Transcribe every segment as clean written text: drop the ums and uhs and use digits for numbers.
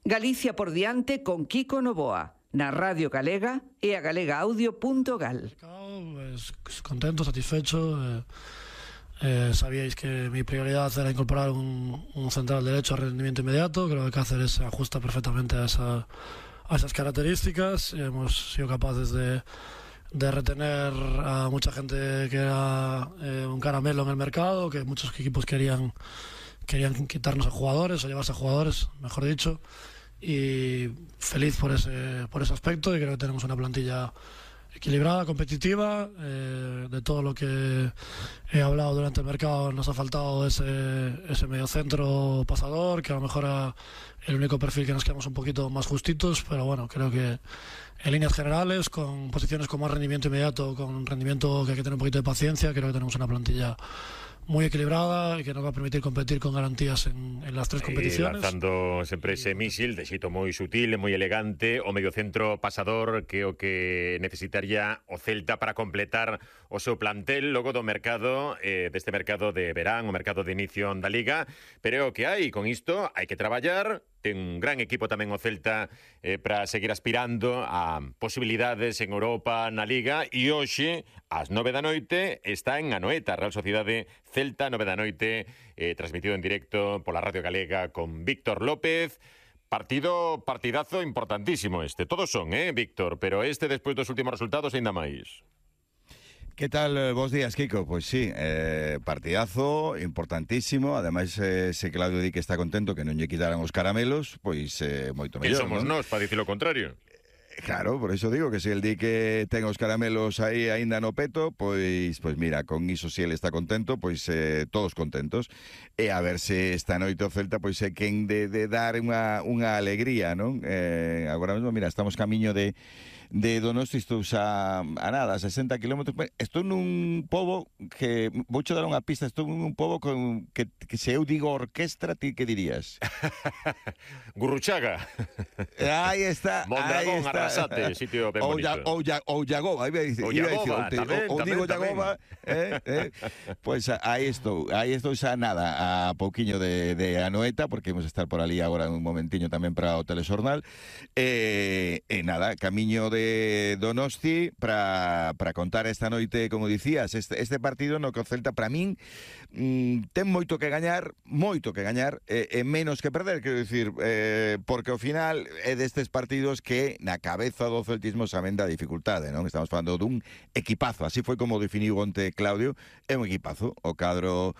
Galicia por diante con Kiko Novoa, na Radio Galega e a galegaaudio.gal. Contento, satisfecho. Sabíais que mi prioridad era incorporar un central derecho a rendimiento inmediato. Creo que Cáceres se ajusta perfectamente a esas características. Hemos sido capaces de retener a mucha gente que era un caramelo en el mercado, que muchos equipos querían quitarnos a jugadores o llevarse a jugadores, mejor dicho, y feliz por ese aspecto, y creo que tenemos una plantilla equilibrada, competitiva. De todo lo que he hablado durante el mercado, nos ha faltado ese mediocentro pasador, que a lo mejor era el único perfil que nos quedamos un poquito más justitos, pero bueno, creo que en líneas generales, con posiciones con más rendimiento inmediato, con rendimiento que hay que tener un poquito de paciencia, creo que tenemos una plantilla muy equilibrada e que nos va a permitir competir con garantías en las tres competiciones. Lanzando sempre ese mísil de xeito moi sutil e moi elegante, o mediocentro pasador, que é o que necesitaría o Celta para completar o seu plantel logo do mercado, deste mercado de verán, o mercado de inicio da Liga, pero é o que hai, con isto hai que traballar. Ten un gran equipo tamén o Celta para seguir aspirando a posibilidades en Europa, na Liga, e hoxe, ás 9 da noite, está en Anoeta, Real Sociedade Celta, 9 da noite, transmitido en directo pola Radio Galega con Víctor López. Partidazo importantísimo este. Todos son, Víctor, pero este, despois dos últimos resultados, ainda máis. ¿Qué tal? Bos días, Kiko. Pues sí, partidazo importantísimo. Además, ese Claudio di que está contento que non lle quitaran os caramelos, pois moito mellor. Que somos nós para dicir o contrario? Claro, por eso digo que se el di que ten os caramelos aí aínda no peto, pois mira, con iso se ele está contento, pois todos contentos. E a ver se esta noite o Celta pois é quen de dar unha alegría, non? Agora mesmo, mira, estamos camiño de Donosti, estou xa a nada, 60 kilómetros. Estou nun pobo que, vouche dar unha pista, estou nun pobo que se eu digo orquestra, ti que dirías? Gurruchaga. Aí está. Mondragón, Arrasate, sitio ben bonito. Ou Llagoba, iba a dicir. Ou digo Llagoba. Pois aí estou xa nada, a pouquiño de Anoeta, porque vamos a estar por ali agora un momentiño tamén para o telexornal. Nada, camiño de Donosti para contar esta noite, como dicías, este partido no que o Celta, para min, ten moito que gañar e menos que perder, quero dicir, porque ao final é destes partidos que na cabeza do celtismo saben da dificultade, non? Estamos falando dun equipazo, así foi como definiu onte Claudio, é un equipazo, o cadro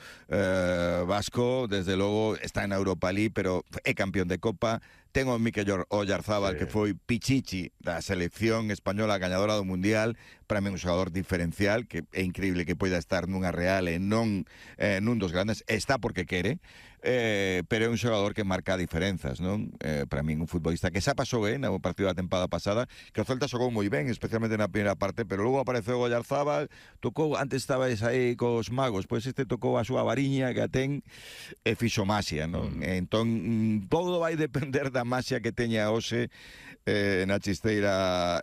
vasco, desde logo, está na Europa League, pero é campeón de Copa. Ten o Mikel Oyarzábal, que foi pichichi da selección española gañadora do Mundial, para mí un xogador diferencial, que é increíble que poida estar nunha Real e non nun dos grandes. Está porque quere, pero é un xogador que marca diferenzas, non? Para mí un futbolista que xa pasou no partido da tempada pasada, que o Celta xogou moi ben, especialmente na primeira parte, pero logo apareceu Oyarzábal, tocou, antes estabais aí cos magos, pois este tocou a súa variña que a ten e fixo maxia, non? Entón, todo vai depender da maxia que teña hoxe na chisteira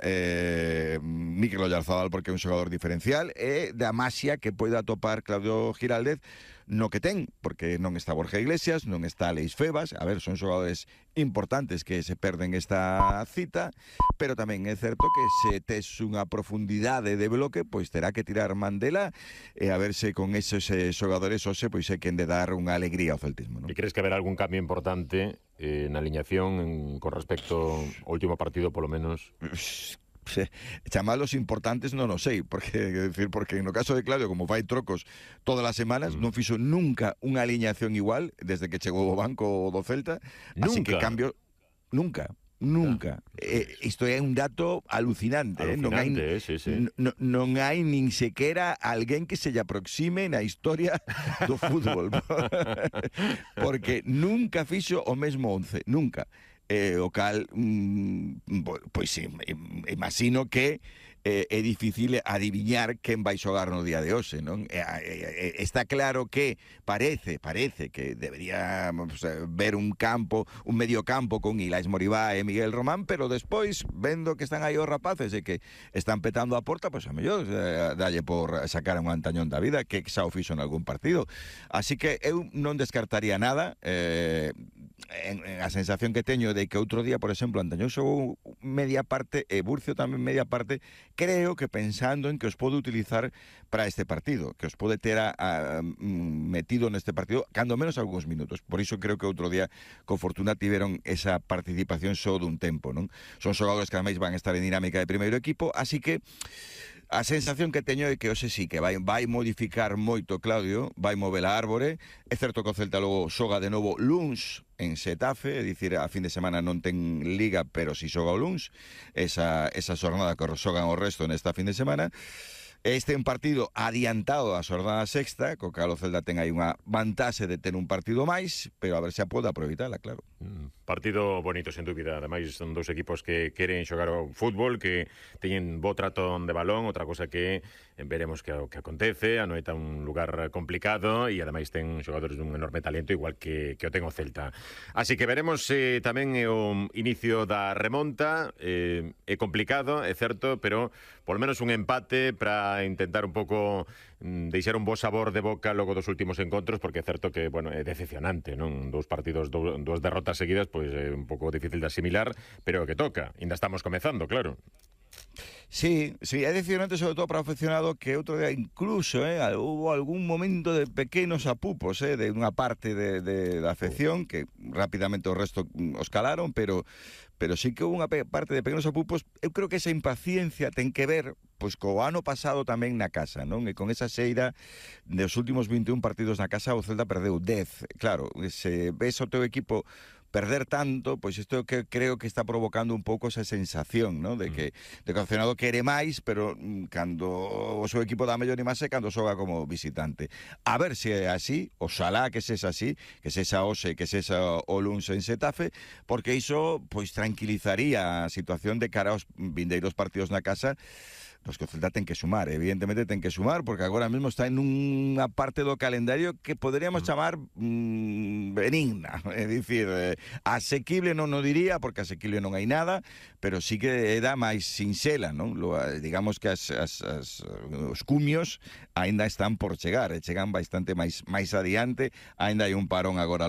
Mikel Oyarzábal, porque é un xogador diferencial, e da maxia que poida atopar Claudio Giraldez no que ten, porque non está Borja Iglesias, non está Leis Febas, a ver, son xogadores importantes que se perden esta cita, pero tamén é certo que se tes unha profundidade de bloque, pois terá que tirar Mandela, e a verse con esos xogadores hoxe, pois é quen de dar unha alegría ao celtismo, non? E crees que haberá algún cambio importante na aliñación con respecto ao último partido, polo menos? Chamalos importantes non o sei, porque no caso de Claudio, como fai trocos todas as semanas, non fixo nunca unha aliñación igual desde que chegou ao banco do Celta. Así que cambio nunca. Isto é un dato alucinante, non hai nin sequera alguén que se lle aproxime na historia do fútbol, porque nunca fixo o mesmo 11, nunca. O cal, pois imagino que é difícil adiviñar quen vai xogar no día de hoxe, non? Está claro que parece que debería ver un medio campo con Ilais Moribá e Miguel Román, pero despois, vendo que están aí os rapaces e que están petando a porta, pois a mellor dalle por sacar un antañón da vida, que xa o fixo en algún partido. Así que eu non descartaría nada. a sensación que teño de que outro día, por exemplo, Antañón xogou media parte e Burcio tamén media parte, creo que pensando en que os pode utilizar para este partido, que os pode ter metido neste partido, cando menos algúns minutos. Por iso creo que outro día con fortuna tiveron esa participación só dun tempo, non? Son xogadores que ademais van a estar en dinámica de primeiro equipo, así que a sensación que teño é que hoxe sí que vai modificar moito Claudio, vai mover a árbore. É certo que o Celta logo xoga de novo luns en Xetafe, é dicir, a fin de semana non ten liga, pero si xoga o luns, esa xornada que xogan o resto nesta fin de semana. Este é un partido adiantado a xornada sexta, co cal o Celta ten aí unha vantaxe de ter un partido máis, pero a ver se a pode aproveitala, claro. Partido bonito, sen dúbida. Ademais, son dous equipos que queren xogar o fútbol, que teñen bo trato de balón, outra cosa que veremos que acontece. A Noeta é un lugar complicado e ademais ten xogadores dun enorme talento, igual que o ten o Celta. Así que veremos tamén o inicio da remonta. É complicado, é certo, pero por lo menos un empate para intentar un pouco deixar un bo sabor de boca logo dos últimos encontros, porque é certo que, bueno, é decepcionante, non? Dous partidos, dúas derrotas seguidas, pois é un pouco difícil de asimilar, pero o que toca. Ainda estamos comezando, claro. Sí, é decepcionante sobre todo para o aficionado, que outro día incluso hubo algún momento de pequenos apupos de unha parte da afección, que rapidamente o resto os calaron, pero sí que hubo unha parte de pequenos apupos. Eu creo que esa impaciencia ten que ver pois co ano pasado tamén na casa, non? E con esa xeira dos últimos 21 partidos na casa, o Celta perdeu 10. Claro, se ves o teu equipo perder tanto, pois isto que creo que está provocando un pouco esa sensación, ¿no? De que o aficionado quere máis, pero cando o seu equipo dá mellor imaxe cando xoga como visitante. A ver se é así, oxalá que sexa así, que sexa hoxe, que sexa o luns en Xetafe, porque iso pois tranquilizaría a situación de cara aos vindeiros partidos na casa, nos que o Celta ten que sumar, evidentemente ten que sumar, porque agora mesmo está en unha parte do calendario que poderíamos chamar benigna, é dicir, asequible non o diría, porque asequible non hai nada, pero sí que dá máis sinxela, non? Digamos que os cumios aínda están por chegar, chegan bastante máis adiante, aínda hai un parón agora